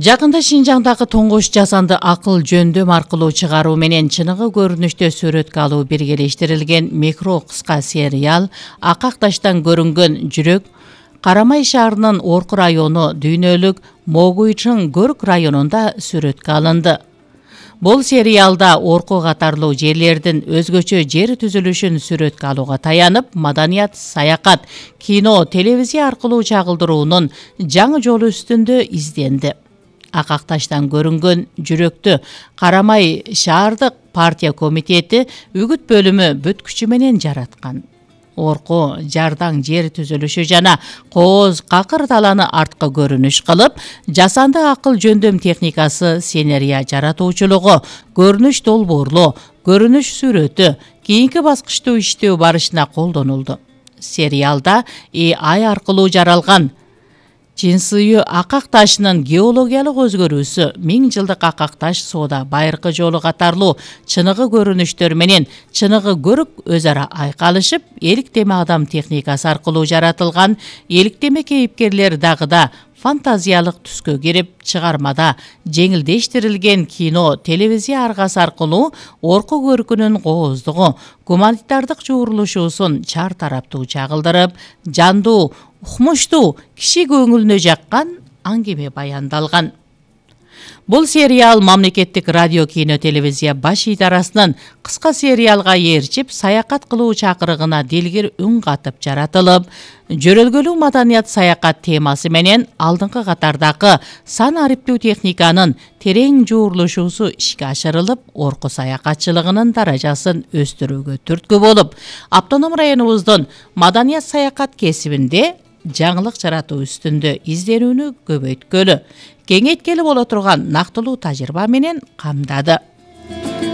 Жакында Шинжаңдагы тоңгош жасанды акыл жөндөм аркылуу чыгаруу менен чыныгы көрүнүштө сүрөткө алуу биргелештирилген микро кыска сериал Акакташтан көрүнгөн жүрөк Карамай шаарынын Орку району дүйнөлүк Могуйчың Көрк районунда сүрөткө алынды. Бул сериалда Орку катарлуу жерлердин өзгөчө жер түзүлүшүн сүрөткө алууга таянып, маданият, саякат, кино, телевизия аркылуу чагылдыруунун жаңы жолу үстүндө изденди. Акакташтан көрүнгөн жүрөктү Карамай шаардык партия комитети үгүт бөлүмү бүт күчү менен жараткан. Орку жардаң жер түзүлүшү жана кооз какыр таланы арткы көрүнүш кылып, жасанды акыл жөндөм техникасы сценария жаратуучулугу, көрүнүш долбоорлоо, көрүнүш сүрөтү кийинки баскычтуу иштөө барышына колдонулду. Сериалда AI аркылуу жаралган Чинсыйы акак ташынын геологиялык өзгөрүүсү, 1000 жылдык акак таш соода байыркы жолу катарлуу чыныгы көрүнүштөр менен чыныгы көрүк өз ара айкалышып, эликтеме адам техникасы аркылуу жаратылган эликтеме кейипкерлер дагы да фантазиялык түскө кирип, чыгармада жеңилдештирилген кино, телевизия аргасы аркылуу Орку көркүнүн кооздугу, гуманитардык жуурулушуусун чар тараптуу чагылдырып, жандуу, укмуштуу, киши көңүлүнө жаккан аңгеме баяндалган. Бул сериал мамлекеттик радио кино телевизия баш идарасынын кыска сериалга ээрчип, саякат кылуу чакырыгына дилгир үн катып жаратылып, жөрөлгөлүү маданият саякат темасы менен алдыңкы катардагы сан ариптүү техниканын терең жуурулушуусу ишке ашырылып, Орку саякатчылыгынын даражасын өстүрүүгө түрткү болуп, автоном районубуздун маданият саякат кесибинде жаңылык жаратуу үстүндө изденүүнү көбөйткөлү, кеңейткелі боло турган нактылуу тажрыйба менен камдады.